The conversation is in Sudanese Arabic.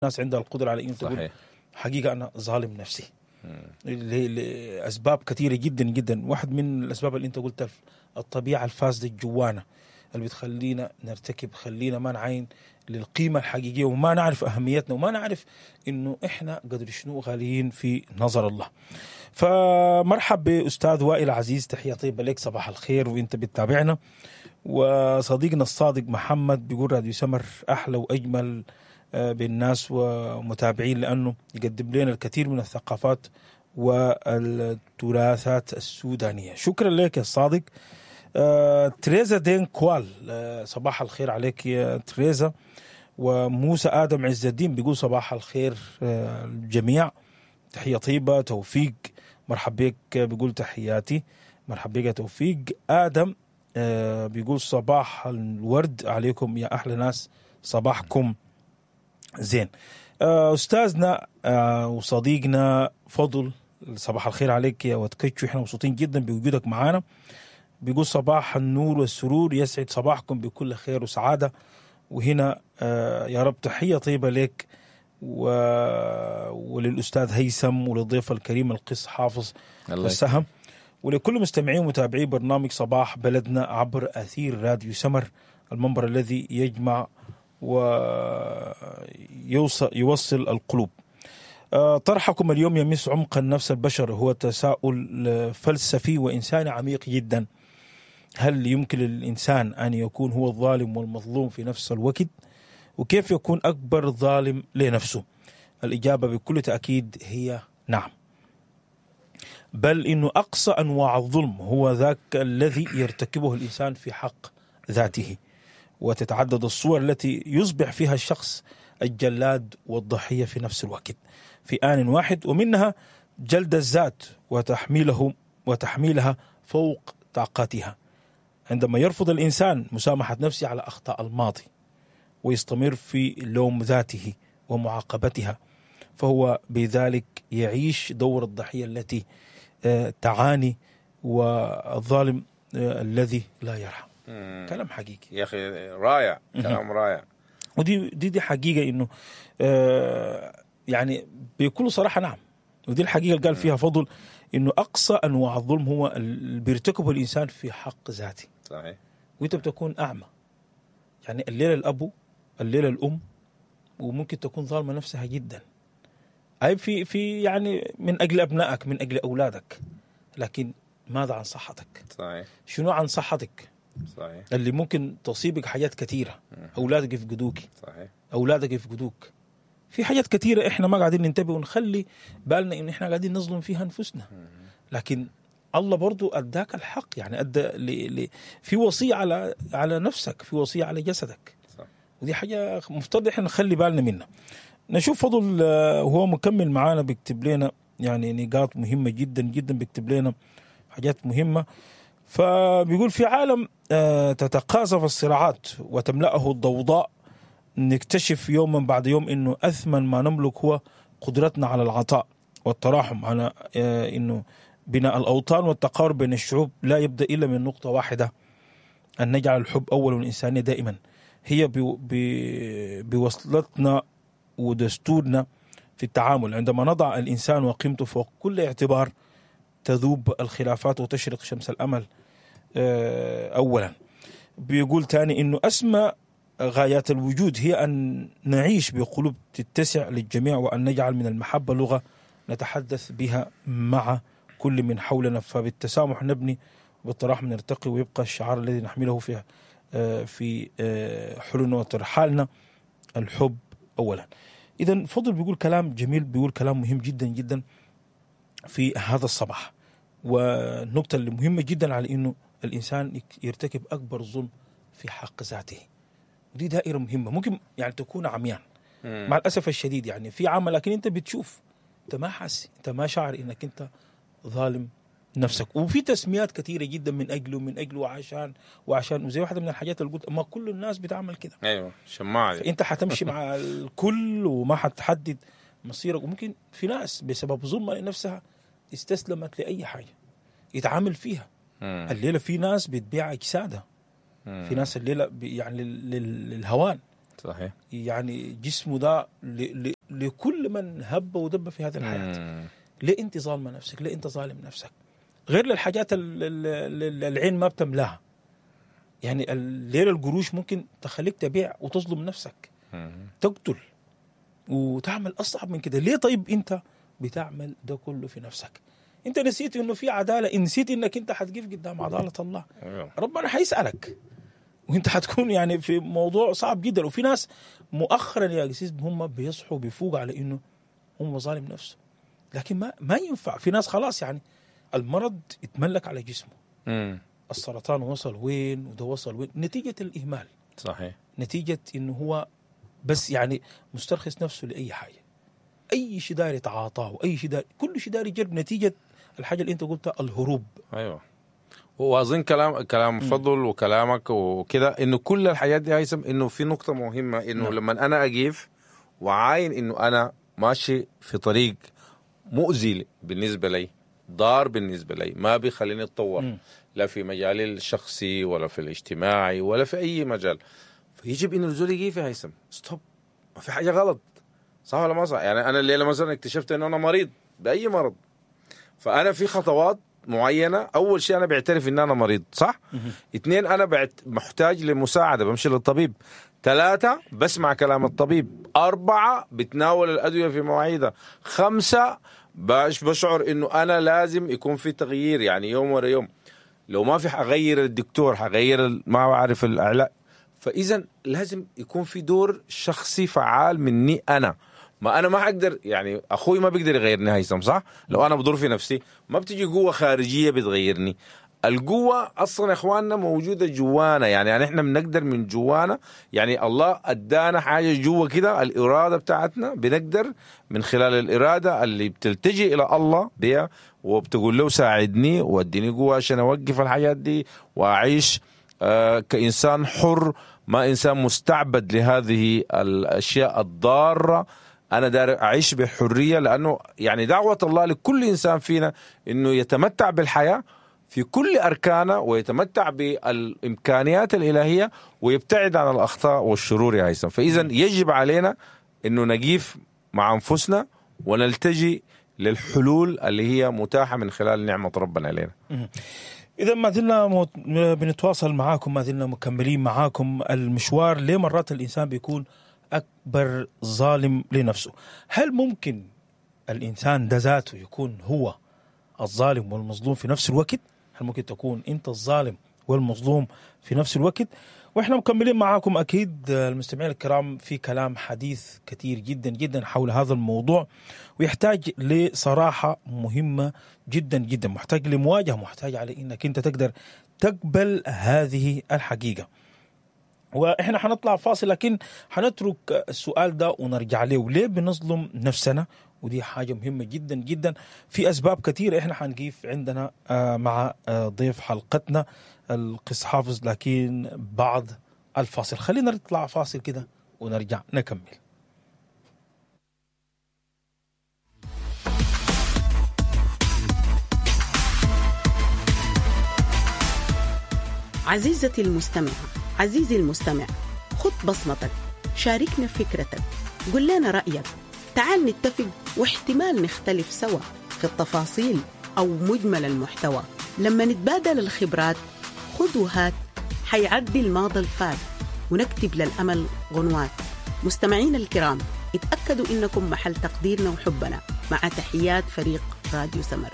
الناس عندها القدرة على انه تقول حقيقة انا ظالم نفسي لاسباب كثيرة جدا جدا. واحد من الاسباب اللي انت قلتها الطبيعة الفاسدة الجوانا اللي بتخلينا نرتكب، خلينا ما نعاين للقيمة الحقيقية وما نعرف اهميتنا وما نعرف انه احنا قدر شنو غاليين في نظر الله. فمرحب باستاذ وائل عزيز، تحية طيبة لك، صباح الخير وانت بتتابعنا. وصديقنا الصادق محمد بيقول راديو سمر احلى واجمل بالناس ومتابعين لانه يقدم لنا الكثير من الثقافات والتراثات السودانية. شكرا لك يا الصادق. تريزا دين كوال، صباح الخير عليك يا تريزا. وموسى ادم عز الدين بيقول صباح الخير الجميع، تحية طيبة. توفيق مرحب بك، بيقول تحياتي، مرحب بك يا توفيق. ادم بيقول صباح الورد عليكم يا احلى ناس، صباحكم زين. استاذنا وصديقنا فضل، صباح الخير عليك يا وتكتشو، احنا مبسوطين جدا بوجودك معانا. بيقول صباح النور والسرور، يسعد صباحكم بكل خير وسعادة. وهنا يا رب تحية طيبة لك وللأستاذ هيثم وللضيف الكريم القس حافظ والسهم، ولكل مستمعين ومتابعي برنامج صباح بلدنا عبر أثير راديو سمر، المنبر الذي يجمع ويوصل القلوب. طرحكم اليوم يمس عمق النفس البشري، هو تساؤل فلسفي وإنساني عميق جدا. هل يمكن للإنسان أن يكون هو الظالم والمظلوم في نفس الوقت؟ وكيف يكون أكبر ظالم لنفسه؟ الإجابة بكل تأكيد هي نعم، بل إنه أقصى أنواع الظلم هو ذاك الذي يرتكبه الإنسان في حق ذاته. وتتعدد الصور التي يصبح فيها الشخص الجلاد والضحية في نفس الوقت في آن واحد، ومنها جلد الذات وتحميلها فوق طاقتها. عندما يرفض الإنسان مسامحة نفسه على أخطاء الماضي ويستمر في لوم ذاته ومعاقبتها، فهو بذلك يعيش دور الضحية التي تعاني والظالم الذي لا يرحم. كلام حقيقي يا اخي، رائع، كلام رائع. ودي دي دي حقيقة انه يعني بكل صراحة نعم، ودي الحقيقة اللي قال فيها فضل انه اقصى انواع الظلم هو اللي بيرتكبه الانسان في حق ذاته. وانت بتكون اعمى، يعني الليلة الابو، الليلة الام، وممكن تكون ظالمه نفسها جدا، اي في يعني من اجل ابنائك، من اجل اولادك، لكن ماذا عن صحتك؟ شنو عن صحتك؟ اللي ممكن تصيبك حاجات كثيرة، اولادك يفقدوك، اولادك يفقدوك، في حاجات كثيرة احنا ما قاعدين ننتبه ونخلي بالنا ان احنا قاعدين نظلم فيها انفسنا. لكن الله برضو اداك الحق، يعني ادى في وصية على نفسك، في وصية على جسدك. ودي حاجة مفترض احنا نخلي بالنا منها. نشوف فضل وهو مكمل معانا بيكتب لنا يعني نقاط مهمة جدا جدا، بيكتب لنا حاجات مهمة. فبيقول في عالم تتقاذف الصراعات وتملأه الضوضاء، نكتشف يوما بعد يوم انه اثمن ما نملك هو قدرتنا على العطاء والتراحم، على انه بناء الاوطان والتقارب بين الشعوب لا يبدا الا من نقطة واحدة، ان نجعل الحب اول والانسانية دائما هي بوصلتنا ودستورنا في التعامل. عندما نضع الانسان وقيمته فوق كل اعتبار تذوب الخلافات وتشرق شمس الامل اولا. بيقول تاني انه اسمى غايات الوجود هي أن نعيش بقلوب تتسع للجميع، وأن نجعل من المحبة لغة نتحدث بها مع كل من حولنا، فبالتسامح نبني وبالتراحم نرتقي، ويبقى الشعار الذي نحمله في حلولنا وترحالنا الحب أولا. إذا فضل بيقول كلام جميل، بيقول كلام مهم جدا جدا في هذا الصباح. والنقطة اللي مهمة جدا على إنه الإنسان يرتكب أكبر ظلم في حق ذاته، ودي دائرة مهمة ممكن يعني تكون عميان مع الأسف الشديد، يعني في عمل لكن أنت بتشوف، أنت ما حاسس، أنت ما شعر إنك أنت ظالم نفسك. وفي تسميات كثيرة جدا من أجله من أجله وعشان وعشان، وزي واحدة من الحاجات اللي قلت ما كل الناس بتعمل كده. ايوه، شماعة. فأنت حتمشي مع الكل وما حتحدد مصيرك. وممكن في ناس بسبب ظلمها لنفسها استسلمت لأي حاجة يتعامل فيها. الليلة في ناس بتبيع أجسادها، في ناس الليلة يعني للهوان. صحيح. يعني جسمه ده لكل من هب ودب في هذه الحياة. ليه انت ظالمه نفسك؟ ليه انت ظالم نفسك؟ غير للحاجات العين ما بتملاها. يعني الليلة القروش ممكن تخليك تبيع وتظلم نفسك، تقتل وتعمل اصعب من كده. ليه طيب انت بتعمل ده كله في نفسك؟ انت نسيت انه في عدالة، نسيت انك انت حتقف قدام عدالة الله. ربنا حيسالك وانت حتكون يعني في موضوع صعب جدا. وفي ناس مؤخرا يا قسيس هم بيصحوا بيفوق على انه هم ظالم نفسه، لكن ما ينفع. في ناس خلاص يعني المرض اتملك على جسمه. السرطان وصل وين وده وصل وين، نتيجة الإهمال. صحيح. نتيجة إنه هو بس يعني مسترخص نفسه لأي حاجة، أي شيء داري يتعاطاه، أي شيء داري، كل شيء داري يجرب، نتيجة الحاجة اللي أنت قلتها الهروب. أيوة. وأظن كلام فضل وكلامك وكده إنه كل الحاجات دي هيثم، إنه في نقطة مهمة إنه نعم. لما أنا أقف وعاين إنه أنا ماشي في طريق مؤذي بالنسبة لي، ضار بالنسبة لي، ما بيخليني اتطور لا في مجالي الشخصي ولا في الاجتماعي ولا في أي مجال، فيجب إنه الزول يجي في هيثم stop، ما في حاجة غلط، صح ولا ما صح؟ يعني أنا الليلة مثلا اكتشفت إنه أنا مريض بأي مرض، فأنا في خطوات معينة. أول شيء أنا بعترف إن أنا مريض، صح؟ 2 أنا محتاج لمساعدة، بمشي للطبيب. 3 بسمع كلام الطبيب. 4 بتناول الأدوية في مواعيدها. 5 بشعر إنه أنا لازم يكون في تغيير، يعني يوم ورا يوم. لو ما في حغير الدكتور، حغير ما أعرف الأعلاء. فإذا لازم يكون في دور شخصي فعال مني أنا. ما أنا ما أقدر، يعني أخوي ما بيقدر يغيرني هيثم، صح؟ لو أنا بدور في نفسي ما بتجي قوة خارجية بتغيرني. القوة أصلا يا إخواننا موجودة جوانا، يعني إحنا بنقدر من جوانا، يعني الله أدانا حاجة جوا كده، الإرادة بتاعتنا بنقدر من خلال الإرادة اللي بتلتجي إلى الله بها وبتقول له ساعدني واديني قوة عشان أوقف الحاجات دي وأعيش كإنسان حر، ما إنسان مستعبد لهذه الأشياء الضارة. أنا دار أعيش بحرية، لأنه يعني دعوة الله لكل إنسان فينا إنه يتمتع بالحياة في كل أركانه ويتمتع بالإمكانيات الإلهية ويبتعد عن الأخطاء والشرور يا هيثم. فإذا يجب علينا إنه نقيف مع أنفسنا ونلتجي للحلول اللي هي متاحة من خلال نعمة ربنا علينا. إذا ما زلنا بنتواصل معاكم، ما زلنا مكملين معاكم المشوار. ليه مرات الإنسان بيكون أكبر ظالم لنفسه؟ هل ممكن الإنسان ده ذاته يكون هو الظالم والمظلوم في نفس الوقت؟ هل ممكن تكون أنت الظالم والمظلوم في نفس الوقت؟ وإحنا مكملين معاكم أكيد المستمعين الكرام في كلام حديث كثير جدا جدا حول هذا الموضوع، ويحتاج لصراحة مهمة جدا جدا، محتاج لمواجهة، محتاج على إنك أنت تقدر تقبل هذه الحقيقة. وإحنا حنطلع فاصل، لكن حنترك السؤال ده ونرجع له، ليه بنظلم نفسنا؟ ودي حاجة مهمة جدا جدا، في أسباب كثيرة إحنا حنقيف عندنا مع ضيف حلقتنا القس حافظ، لكن بعد الفاصل. خلينا نطلع فاصل كده ونرجع نكمل. عزيزتي المستمعة، عزيزي المستمع، خد بصمتك، شاركنا فكرتك، قل لنا رأيك، تعال نتفق واحتمال نختلف سوا في التفاصيل أو مجمل المحتوى. لما نتبادل الخبرات خد وهات، حيعدي الماضي الفات ونكتب للأمل غنوات. مستمعين الكرام، اتأكدوا إنكم محل تقديرنا وحبنا. مع تحيات فريق راديو سمر.